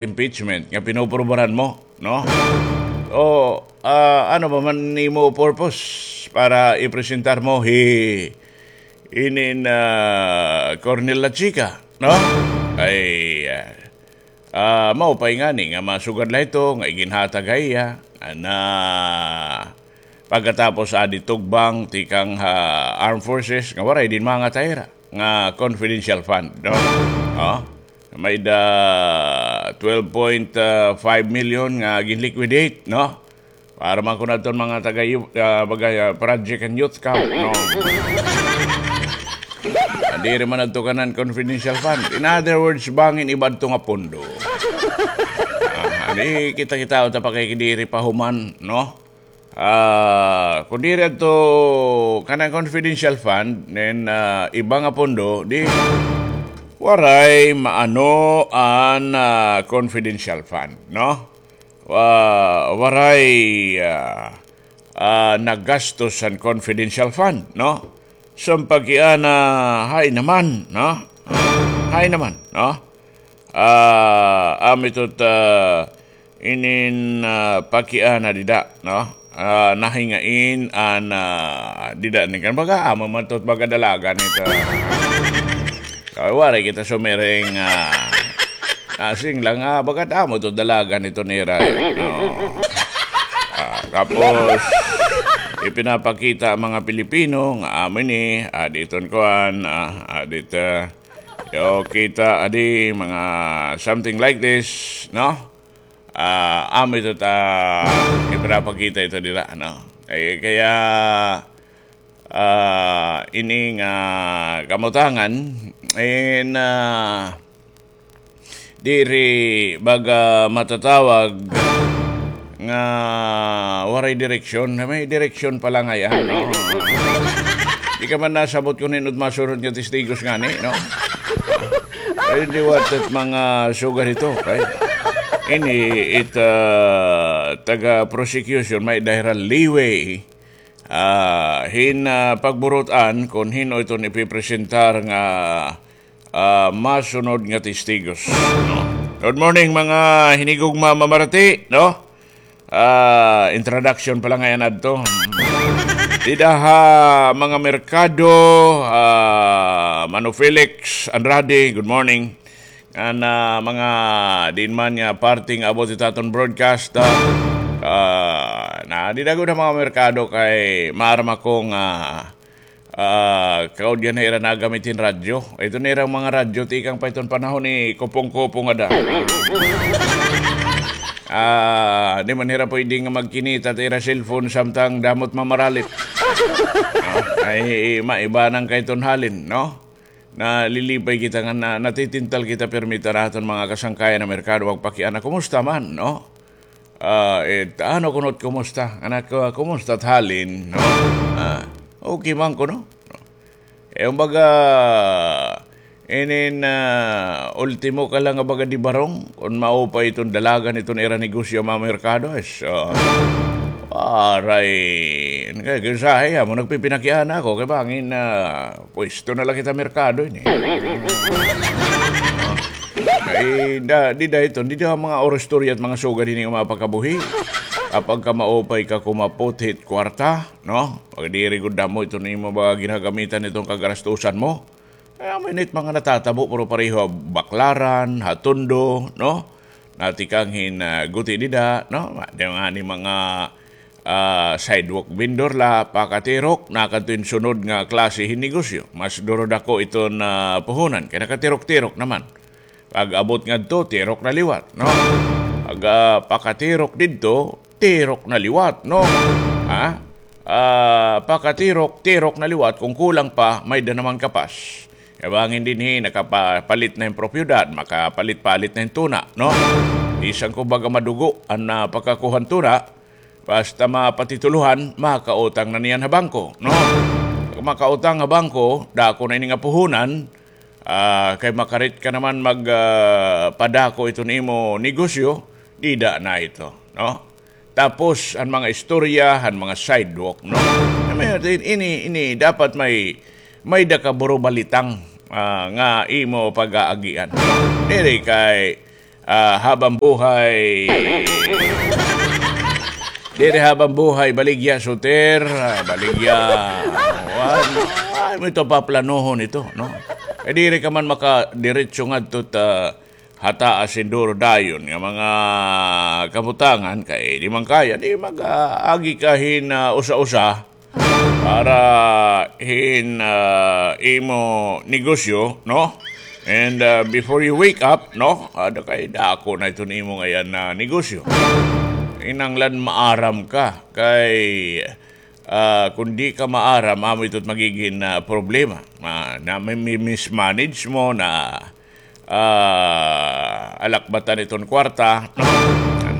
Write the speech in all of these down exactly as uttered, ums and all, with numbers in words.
impeachment nga pinoprobaran mo, no? O, ah, ano ba man nimo purpose para ipresentar mo hi inin, ah, Colonel Lachica, no? Ay, ah, ah, maupay ngani nga masugad la ito nga iginhatag ha iya na pagkatapos adi tugbang tikang ha armed forces nga waray dinhi mga tayra nga confidential fund, no? Oh, may da twelve point five million nga ginliquidate, no? Para man kuno adton mga taga yu-, ah, baga, ah, project and youth camp, no? Ah, diri man adto kanan confidential fund. In other words, bangin iba adto nga pondo. Ah, di kita-kita ta pa kay diri pa human, no? Ah, kun diri adto kanan confidential fund, then, ah, iba nga pondo, di waray maano an, ah, confidential fund, no? Wa-, waray, ah, ah, nagastos an confidential fund, no? So, an pagkiana, hay naman, no? Hay naman, no? Ah, amo ito, ah, inin, ah, pagkiana dida, no? Ah, nahingain an, ah, dida ni kan baga, amo man ito, baga dalagan ito. Kay waray kita sumiring, ah, asing lang, ah, baga amo ito dalagan ito nira, eh, no? Ah, tapos, ipinapakita an mga Pilipino nga amo ini, ah, diton kuan, ah, ah, dito, yo, kita, adi, mga something like this, no? Ah, amo ito ta, ipinapakita ito dira, no? Eh, kaya, ah, ini nga kamutangan, in, ah, diri baga matatawag nga waray direksyon. May direksyon pala ngay-an, no? Di ka man nasabot kun hin-o it masunod nga testigos ngani, no? Ay, di, what it mga sugad ito, kay ini it, ah, taga-prosecution, may da hira leeway, ah, hin, ah, pagburut-an kun hin-o iton ipipresentar nga, ah, masunod nga testigos, no? Good morning, mga hinigugma, mamarati, no? Ah, introduction pa la ngay-an adto. Dida ha mga merkado, ah, Mano Felix Andrade, good morning. An, ah, mga diin man nga parte nga abot it aton broadcast, ah, ah, na dida gud ha mga merkado kay maaram ako nga, ah, kaudyan na ira nagamit hin radyo. Ito na irang mga radyo, tikang pa iton panahon ni Kopong-Kopong ada. Ah, di man hira pwede nga magkinita ta ira cellphone samtang damo it mamaralit. Ah, ay, maiba nang kay iton halin, no? Nalilipay kita nga na, natitintal kita pirmi ta ha aton mga kasangkayan ha merkado, magpakiana, kumusta man, no? Ah, eh, ano kuno it kumusta? Anak ko, kumusta it halin, no? Ah, okay man kuno. Eh, kumbaga, inin, ah, ultimo ka la nga baga di barong, kun maupay iton dalagan iton ira negosyo ha mga merkado, eh, so, aray, kay, kay usahay, amo nagpipinakiana ako, kay bangin, ah, pwesto na la kita merkado ini. Ay, da, dida iton, dida mga oristorya it mga sugad hini nga mga pagkabuhi. Kapag ka maupay ka kumapot hit kwarta, no? Pag diri gud damo iton imo mga ginagamitan iton kagarastusan mo. Kay amo ini it mga natatabo, pero pareho ha Baclaran, ha Tondo, no? Natikang hin, ah, guti dida, no? Di nga ni mga, ah, sidewalk vendor la, pakatirok, nakadto hin sunod nga klase hin negosyo. Mas durodako iton, ah, puhunan, kay nakatirok-tirok naman. Pag-abot ngadto, tirok na liwat, no? Pag, ah, pakatirok didto, tirok na liwat, no? Ha? Ah, pakatirok, tirok na liwat, kun kulang pa, may-ada naman kapas. Kay bangin dinhi, nakapalit na hin propiedad, makapalit-palit na hin tuna, no? Bisan kun baga madugo an, ah, pagkakuha hin tuna, basta mapatitulohan, makautang na niyan ha bangko, no? Pag makautang ha bangko, dako na ini nga puhunan, ah, kay makarit ka naman mag, ah, padako iton imo negosyo, dida na ito, no? Tapos, an mga istorya, an mga sidewalk, no? Ini, ini, dapat may, may-ada ka buro balitang, ah, nga imo pag-aagian. Diri kay, ah, habang buhay. Diri habang buhay, baligya, suter, ah, baligya. Ay, mo ito paplanohon ito, no? Kay diri ka man makadiretso ngadto ta ha taas hin duro dayon nga mga kabutangan, kay di man kaya, di mag-agi ka hin, ah, usa-usa para hin, ah, imo negosyo, no? And, ah, before you wake up, no? Ada kay dako na iton imo ngayan na negosyo. Kinahanglan maaram ka kay, ah, kung di ka maaram, amo ito magiging, ah, problema. Ma-, na may, may mismanage mo na, ah, alakbatan iton kwarta, no?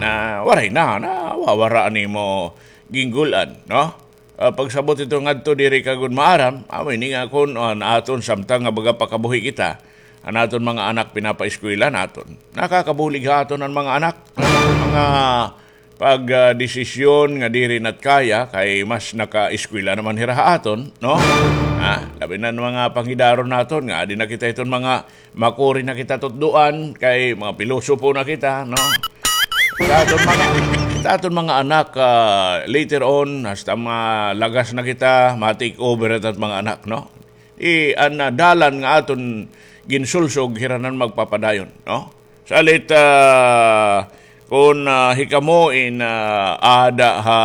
Na waray na, nawawara an imo ginggul-an, no? Ah, pagsabot ito ngadto, diri ka gud maaram, amo ini nga kun, ah, an aton samtang nga baga pakabuhi kita, an aton mga anak pinapaeskwela naton. Nakakabulig ha aton an mga anak. Mga pag, ah, desisyon nga diri nat kaya, kay mas nakaeskwela naman hira ha aton, no? Ah, labi na an mga panghidaron naton nga adi na kita iton mga makuri na kita tutdoan, kay mga pilosopo na kita, no? Sa aton mga, sa aton mga anak, ah, later on, hasta malagas na kita, ma-take over na it at mga anak, no? I, an, ah, dalan nga aton ginsulsog, hira na an magpapadayon, no? Salit, ah, kun, ah, hikamo in, ah, ada ha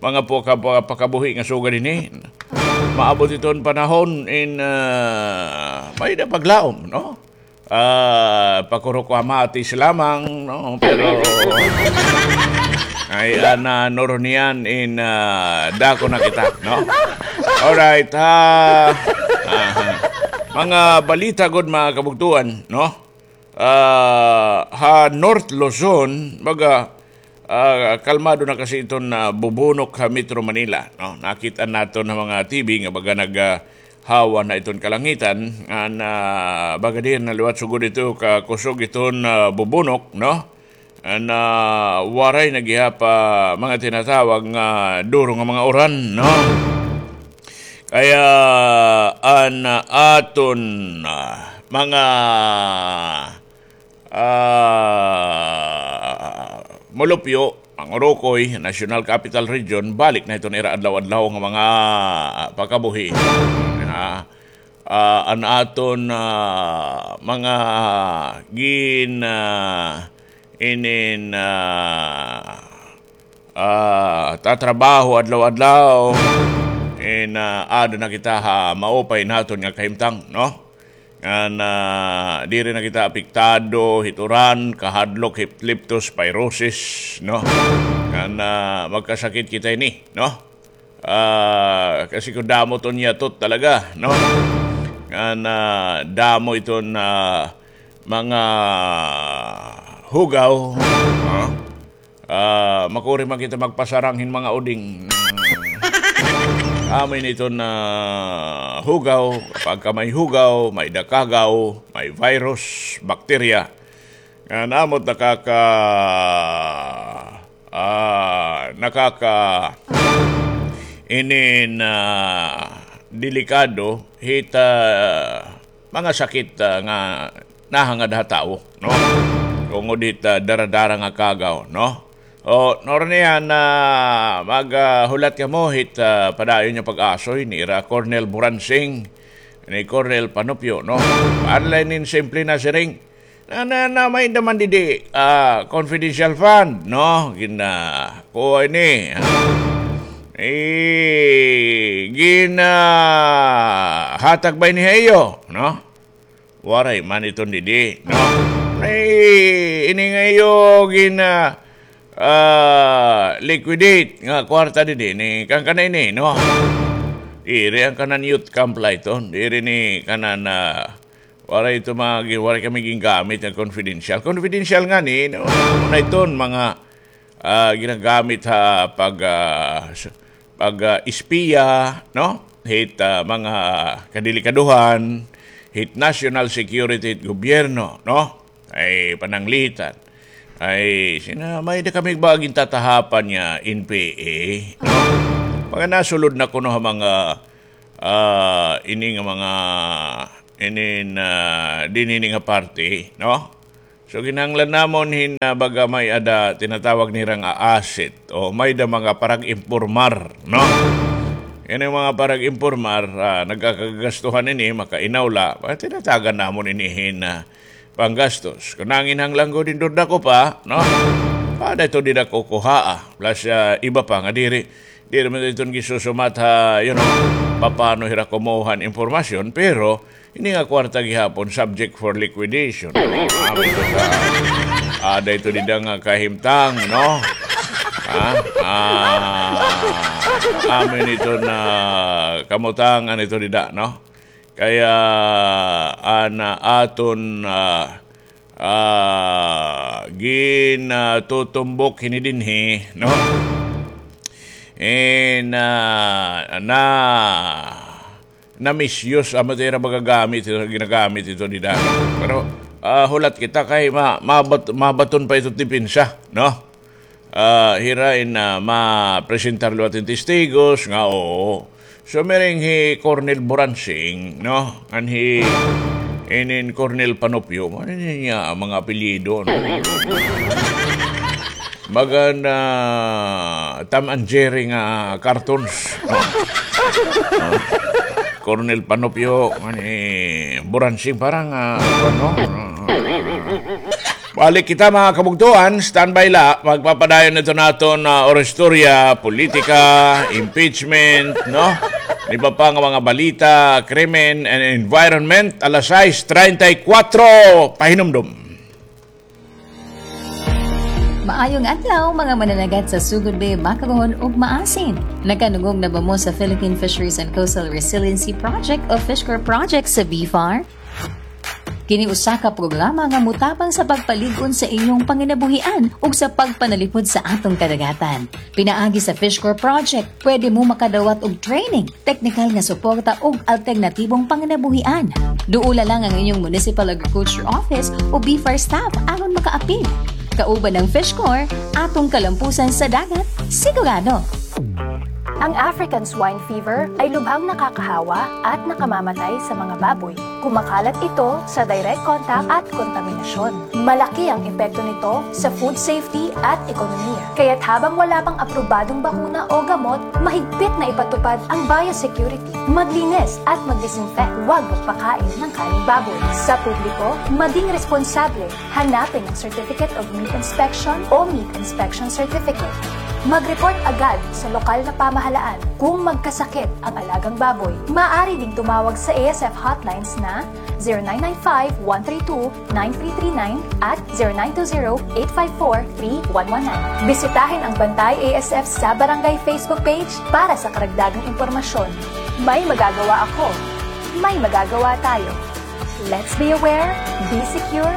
mga paka-, paka-, pakabuhi nga sugad ini, maabot iton panahon in, ah, may-ada paglaom, no? Ah, pakurok kamatis lamang, no? Pero, ay, ana, nurunian in, ah, dako na kita, no? Alright, ha? Aha. Mga balita gud, mga kabugtuan, no? Ah, ha North Luzon, baga, ah, kalmado na kasi iton, ah, bubunok ha Metro Manila, no? Nakit-an naton ha mga T V nga baga nag, ah, hawa na iton kalangitan, nga na, baga diin na liwat sugod ito kakusog iton, ah, bubunok, no? Nga na waray na gihap, ah, mga tinatawag nga duro nga mga uran, no? Kaya an aton, ah, mga, ah, mulupyo, mga urukoy, National Capital Region, balik na iton ira adlaw-adlaw nga mga, ah, pakabuhi. Ah, ah, an aton, ah, mga gin, ah, inin, ah, ah, tatrabaho adlaw-adlaw, in, ah, ada na kita ha maupay naton nga kahimtang, no? Ngan, ah, diri na kita apektado hit uran, kahadlok, hit leptospirosis, no? Ngan, ah, magkasakit kita ini, no? Ah, kasi kun damo iton yatot talaga, no? Ngan, ah, damo iton, ah, mga hugaw, no? Ah, makuri man kita magpasarang hin mga uding. Amo ini iton hugaw, pagka may hugaw, may-ada kagaw, may virus, bakterya. Nga amo it nakaka-, ah, nakaka-, inin, ah, delikado hit, ah, mga sakit, ah, nga nahangad ha tawo, no? Tungod hit, ah, dara-dara nga kagaw, no? O, nurunian na mag, ah, hulat kamo hit, ah, padayon nga pag-asoy ni ira Colonel Buransing, ni Colonel Panupyo, no? Para la inin simple na siring. Na, na, na, may-ada man didi, ah, confidential fund, no? Gina-, kuha ini, ah. Eh, ginahatag ba ini ha iyo, no? Waray man iton didi, no? Ay, ini nga iyo gina-, ah, liquidate nga kwarta didi, ini kan kana ini, no? Diri an kanan youth camp la iton, diri ini kanan, ah, waray ito mga gi-, waray kami gingamit nga confidential. Confidential ngani, no? Amo na iton mga, ah, ginagamit ha pag, ah, s-, pag, ah, espiya, no? Hit, ah, mga kadelikadohan, hit national security hit gobyerno, no? Ay pananglitan. Ay, sina, may-ada kami ba gintatahapan nga N P A, no? Mga nasulod na kuno ha mga, ah, ini nga mga, inin, ah, dinhi ini nga parte, no? So, kinahanglan namon hin, ah, baga may-ada tinatawag nira nga asset o may-ada mga parag-impormar, no? Yana nga mga parag-impormar, ah, nagkakagastuhan ini, makainaw la, ah, tinatagan namon ini hin, ah, panggastos. Kon nanginhanglan gud hin dako pa, no? Paada ito dida kukuhaa. Plus, ah, iba pa nga diri, diri man iton gisusumat ha, you know, papaano hira kumuha hin impormasyon, pero ini nga kwarta gihapon subject for liquidation. Amin ito ka, ada ito dida nga kahimtang, no? Ha? Ah, amin ito na kamutangan ito dida, no? Kaya, ah, na aton, ah, ah, ginatutumbok hini dinhi, no? Eh, na, na, na-misuse, amo ito ira magagamit, ito, ginagamit ito dida. Pero, ah, hulat kita kay ma-, mabat-, mabaton pa ito depensa, no? Ah, hira in, ah, mapresentar liwat hin testigos nga oo. So, miring hi Colonel Buransing, no? Ngan hi inin Colonel Panopio, ano niya ang mga apelyido, no? Baga na Tom and Jerry nga cartoons, no? No? Colonel Panopio, ngan hi Buransing, parang, ah, ano? Balik kita, mga kabugtuan, standby la, magpapadayon ito naton, ah, oristorya, politika, impeachment, no? Iba pa nga mga balita, krimen and environment, alas sais treinta y cuatro, pahinumdom. Maayong adlaw, mga mananagat sa Sugod Bay, Makaroon ug Maasin. Nakanungog na ba mo sa Philippine Fisheries and Coastal Resiliency Project o FishCor Project sa BFAR? Kini usa ka programa nga motabang sa pagpalig-on sa inyong panginabuhian ug sa pagpanalipod sa atong kadagatan. Pinaagi sa FishCor Project, pwede mo makadawat og training, teknikal nga suporta ug alternatibong panginabuhian. Duola lang ang inyong Municipal Agriculture Office o BFAR staff aron makaapil. Kauban ang FishCor, atong kalampusan sa dagat, sigurado. Ang African Swine Fever ay lubhang nakakahawa at nakamamatay sa mga baboy. Kumakalat ito sa direct contact at kontaminasyon. Malaki ang epekto nito sa food safety at ekonomiya. Kaya't habang wala pang aprobadong bakuna o gamot, mahigpit na ipatupad ang biosecurity. Maglinis at mag-disinfect. Huwag magpakain ng kaning baboy. Sa publiko, maging responsable. Hanapin ang Certificate of Meat Inspection o Meat Inspection Certificate. Mag-report agad sa lokal na pamahalaan kung magkasakit ang alagang baboy. Maaari ding tumawag sa A S F hotlines na zero nine nine five, one three two, nine three three nine at zero nine two zero, eight five four, three one one nine. Bisitahin ang Bantay A S F sa Barangay Facebook page para sa karagdagang impormasyon. May magagawa ako. May magagawa tayo. Let's be aware, be secure,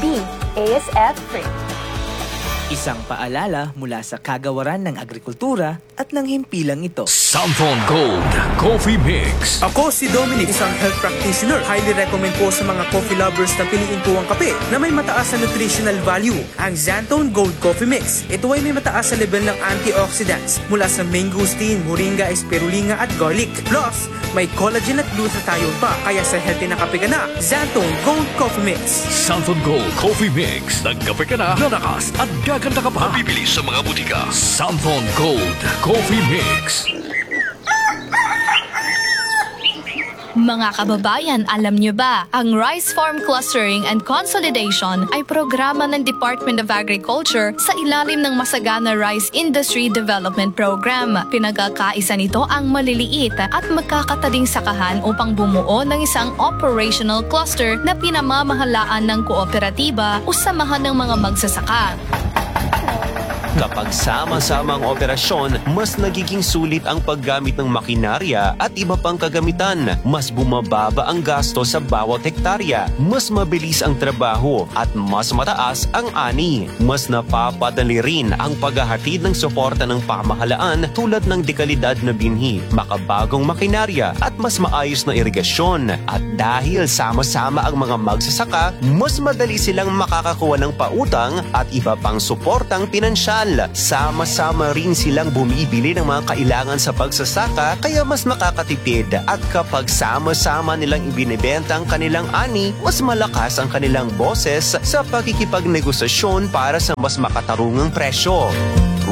be A S F free. Isang paalala mula sa Kagawaran ng Agrikultura at ng himpilang ito. Santhon Gold Coffee Mix. Ako si Dominic, isang health practitioner. Highly recommend po sa mga coffee lovers na piliin po ang kape na may mataas na nutritional value, ang Xanthone Gold Coffee Mix. Ito ay may mataas na level ng antioxidants mula sa mangosteen, moringa, spirulinga at garlic. Plus, may collagen at glutathione pa, kaya sa healthy na kape ka na, Xanthone Gold Coffee Mix. Santhon Gold Coffee Mix. Nagkape ka na, lalakas at gaganda ka pa. Mabibili sa mga butika. Santhon Gold Coffee Mix. Mga kababayan, alam niyo ba, ang Rice Farm Clustering and Consolidation ay programa ng Department of Agriculture sa ilalim ng Masagana Rice Industry Development Program. Pinagkakaisa nito ang maliliit at magkakatading sakahan upang bumuo ng isang operational cluster na pinamamahalaan ng kooperatiba o samahan ng mga magsasaka. Kapag sama-sama ang operasyon, mas nagiging sulit ang paggamit ng makinarya at iba pang kagamitan. Mas bumababa ang gasto sa bawat hektarya, mas mabilis ang trabaho, at mas mataas ang ani. Mas napapadali rin ang paghahatid ng suporta ng pamahalaan tulad ng dekalidad na binhi, makabagong makinarya, at mas maayos na irigasyon. At dahil sama-sama ang mga magsasaka, mas madali silang makakakuha ng pautang at iba pang suportang pinansyal. Sama-sama rin silang bumibili ng mga kailangan sa pagsasaka, kaya mas makakatipid. At kapag sama-sama nilang ibinebenta ang kanilang ani, mas malakas ang kanilang boses sa pakikipagnegosasyon para sa mas makatarungang presyo.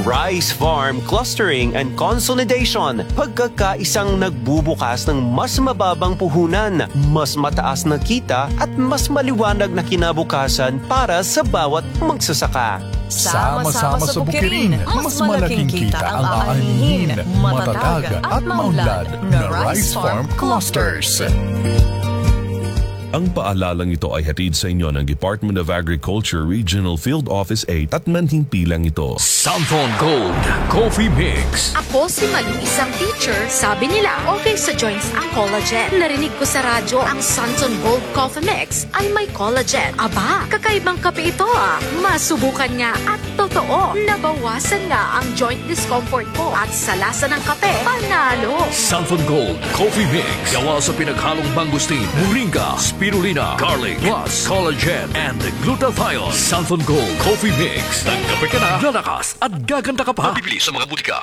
Rice Farm Clustering and Consolidation. Pagkakaisang nagbubukas ng mas mababang puhunan, mas mataas na kita at mas maliwanag na kinabukasan para sa bawat magsasaka. Sama-sama sa Bukirin, mas malaking kita ang aanhin. Matatag at maunlad na Rice Farm Clusters. Ang paalalang ito ay hatid sa inyo ng Department of Agriculture Regional Field Office eight at manhimpilang ito. Santon Gold Coffee Mix. Ako si Malu, isang teacher. Sabi nila, okay sa joints ang collagen. Narinig ko sa radyo, ang Santon Gold Coffee Mix ay may collagen. Aba, kakaibang kape ito ah. Masubukan nga at totoo, nabawasan nga ang joint discomfort ko at sa lasa ng kape, panalo. Santon Gold Coffee Mix. Gawa sa pinaghalong mangosteen, moringa, spirulina, garlic, plus collagen and glutathione. Santon Gold Coffee Mix. Nagkape ka na, lalakas at gaganda ka pa. Mabibili sa mga butika.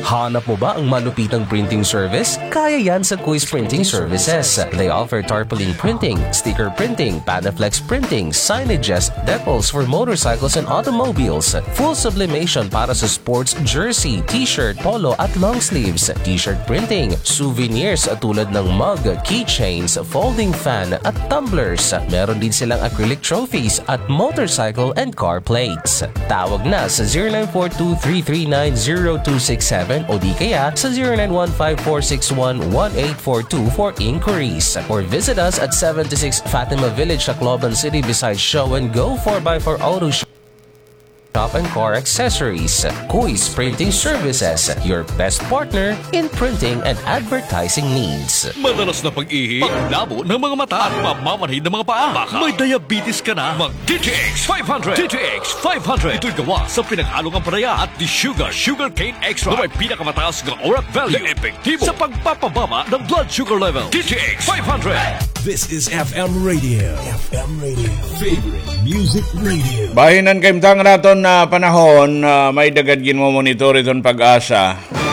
Hanap mo ba ang malupitang printing service? Kaya yan sa Kuis Printing Services. They offer tarpaulin printing, sticker printing, Panaflex printing, signages, decals for motorcycles and automobiles, full sublimation para sa sports jersey, t-shirt, polo at long sleeves, t-shirt printing, souvenirs tulad ng mug, keychains, folding fan at tumblers. Meron din silang acrylic trophies at motorcycle and car plates. Tawag na sa zero nine four two three three nine zero two six seven o di kaya sa zero nine one five four six one one eight four two for inquiries. Or visit us at seventy-six Fatima Village, Tacloban City, beside Show and Go four by four Auto Shop and Car Accessories. Kuis Printing Services, your best partner in printing and advertising needs. Madalas na pag-ihi, paglabo ng mga mata, at mamamanhid ng mga paa. Baka may diabetes ka na? Mag D T X five hundred. D T X five hundred. Ito'y gawa sa pinaghalong ampalaya at desugar, sugarcane extract, na may pinakamataas nga orat value na epektibo sa pagpapababa ng blood sugar level. D T X five hundred. This is F M Radio. F M Radio. Favorite Music Radio. Bahin han kahimtang naton nga panahon, ah, may-ada gad ginmo-monitor iton PAGASA.